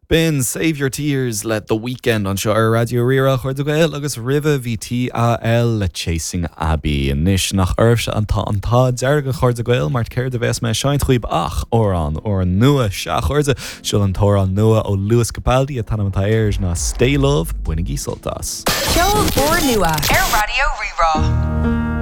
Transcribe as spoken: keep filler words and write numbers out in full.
B'in Save Your Tears le The Weeknd anseo ar Raidió Rí-Rá, a chairde Gael agus roimhe bhí TAL le Chasing Abbey. Anois nach oraibhse atá an t-ádh dearg, a chairde Gael mar céard a bheas mé ag seinnt daoibh ach amhrán úrnua sea a chairde seo an t-amhrán nua ó Lewis Capaldi an t-ainm atá air ná Stay Love bainigí sult as. Ceol úrnua ar Raidió Rí-Rá.